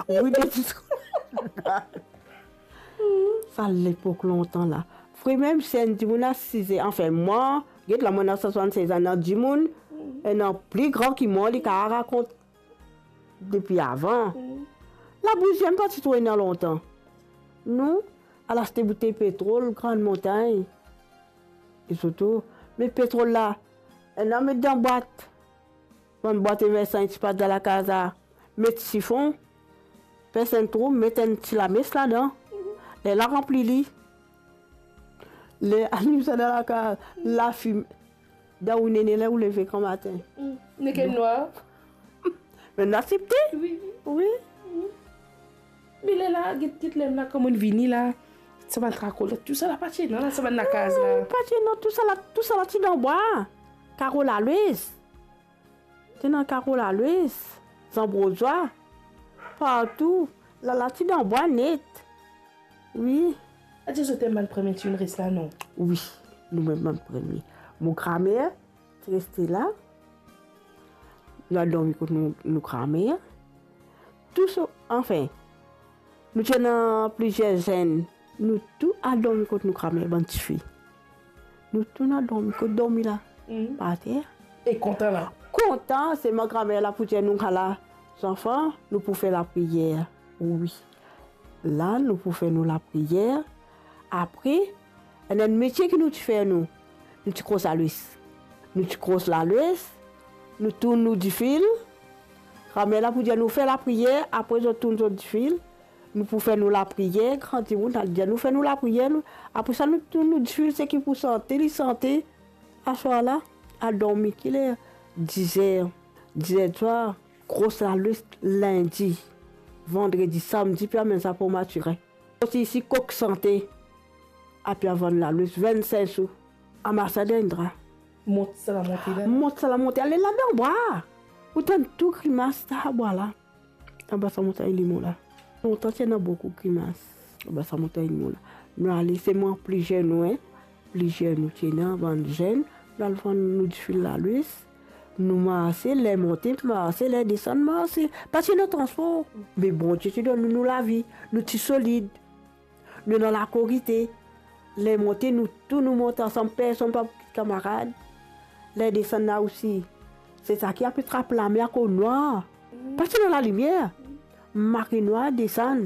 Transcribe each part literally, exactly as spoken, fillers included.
Wi, de ti skola. Sa lepok lontan la. Fri mem si enn dimoun asize, anfin, mwa, get la, mwa ena swasann-sez ane, dimoun, ena pli gran ki mwa, li kapav rakont depi avan. Labouzi mem pa ti tro ena lontan. Nou al aste boutey petrol, Gran Montagn. E sirtou, met petrol la, ena met dan bwat. Bann bwat Eversan ti pas dan lakaz la, met sifon, pers enn trou, met enn ti lames ladan. Lerla ranpli li. Ler alim sa dan lakaz, lafime. Dan ou nene ler ou leve gramatin. Mm. Nek enn nwar. Me nou asepte. Wi. Wi. Mm. Me lerla, get, get lerla kouma vini la. Sa bann karo la, tou sa la pa ti ena la, sa bann lakaz la. Non, pa ti ena, tou sa la, tou sa la ti dan bwa. Karo lalwes. Ti ena karo lalwes, zanbrozwa, partou. Lala ti dan bwa net. Wi. Adir zot enn bann premie ti inn res la, non? Wi, nou mem bann premie. Mo gramer ti reste la. Nou al dormi kot nou, nou gramer. Tou so, anfin, nou ti ena plizier zenn, nou tou al dormi kot nou gramer, bann tifi. Nou tou al dormi, kot dormi la? Mm. Par ter. E kontan la? Kontan, selman gramer la pou dir nou, ala, zanfan, nou pou fer lapriyer. Wi. La, nou pou fer nou lapriyer. Apre, ena enn metie ki nou ti fer nou. Nou ti kros lalwes. Nou ti kros lalwes, nou tourn nou difil. Gramer la pou dir nou fer lapriyer, apre zot tourn zot difil. Nou pou fer nou lapriyer, gran dimoun, al dir nou fer nou lapriyer, nou, apre sa nou tourn nou difil, seki pou sante, li sante. Aswar la, al dormi, ki ler? Dizer, dizer diswar, kros lalwes lindi, vandredi, samdi, pe amenn sa Port Mathurin. Osi isi kok sante, apre vann lalwes, vinn-sink sou, amas sa dan enn dra. Mont sa lamonte la. Mont sa lamonte, ale la dan bwa. Ou tann tou grimas sa bwa la. Anba sa montagn limon la. Lontan ti ena boukou grimas. Anba sa montagn limon la. Nou ale, selman plizier nou, en, plizier nou ti ena, bann zenn, nou al vann nou difil lalwes. Nou marse, ler monte, marse, ler desann, marse. Pa ti ena transpor. Me Bondie ti donn nou, nou lavi. Nou ti solid. Nou dan lakorite. Ler monte, nou tou nou mont ansam, personn pa pou kit kamarad. Ler desann la osi. Se sa ki apel trap lame akoz nwar. Pa ti ena lalimier. Make nwar desann.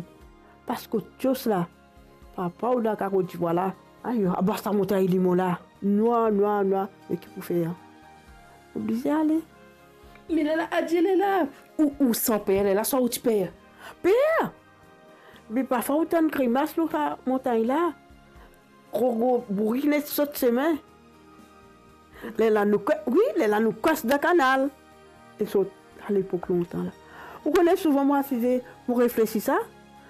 Pas kot Tios la. Papa, ou dan karo dibwa la. Ayo, anba sa montagn limon la. Nwar, nwar, nwar. Me ki pou fer? Oblize ale. Me lerla, adir lerla. Ou, ou san per lerla, swa ou ti per? Per! Me parfwa ou tann grimas lor sa montagn la. Gro, gro bourik net sot sime. Lerla nou kwe-, wi, lerla nou kros dan kanal. E sot, alepok lontan la. Ou kone souvan mo asize, mo reflesi sa,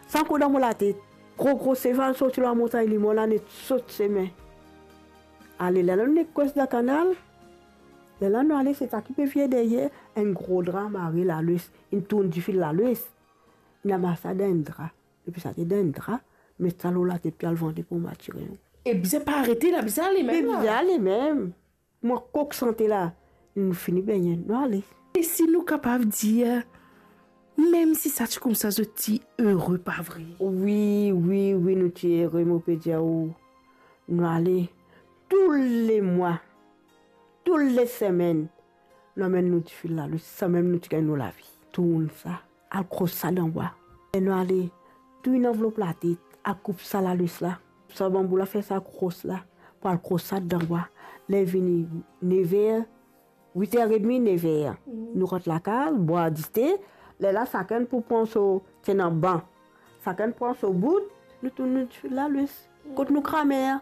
sa ankor dan mo latet. Gro, gro seval sorti lor montagn limon la, net sot sime. Ale, lerla nou nek kros dan kanal. Lerla nou ale, se sa ki pe vini deryer, enn gro dra mare lalwes, inn tourn difil lalwes. Inn amas sa dan enn dra. Depi sa ti dan enn dra, met sa lor latet, pe al vande Port Mathurin. E bizin pa arete la, bizin ale mem la. Bizin ale mem. Mo kok sante la, nou fini bengne, nou ale. E si nou kapav dir, mem si sa ti koumsa, zot ti ere, pa vre? Wi, wi, wi, nou ti ere, mo pe dir ou. Nou ale toulemwa, toulesemenn, nou amenn nou difil lalwes, samem nou ti gagn nou lavi. Tourn sa, al kros sa dan bwa. E nou ale, tou inn anvlop latet, al koup sa lalwes la. Sa banbou la, fer sa kros la, pou al kros sa dan bwa. Ler vini never, witer edmi, never. Mm. Nou rant lakaz, bwar dite, lerla sakenn pou pran so, ti ena ban. Sakenn pran so bout, nou tourn nou difil lalwes. Mm. Kot nou gramer.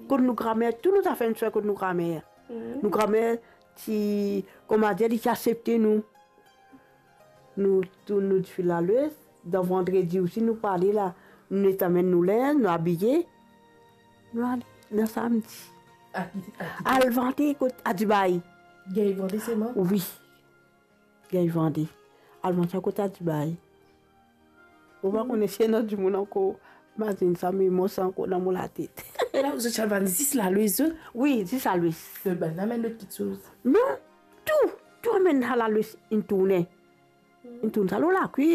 Kot nou gramer, tou nou zafer nou ti fer kot nou gramer. Mm. Nou gramer ti, kouma dir, li ti asepte nou. Nou tourn nou difil lalwes, dan vandredi osi nou pou ale la, nou net amenn nou linz, nou abiye. Nou ale dan samdi. A ki, a ki? Al vande kot, a Dubai. Gagn vande selman? Wi. Gagn vande. Al vande sa kot a Dubai. Mo pa kone si ena dimoun ankor mazinn sa, me mwa sa ankor dan mo latet. E la, zot ti al vann zis lalwes zot? Wi, zis lalwes. Zot bann amenn lot kiksoz? Non, tou, tou amenn sa lalwes, inn tourne. Inn tourn sa lor lakwi.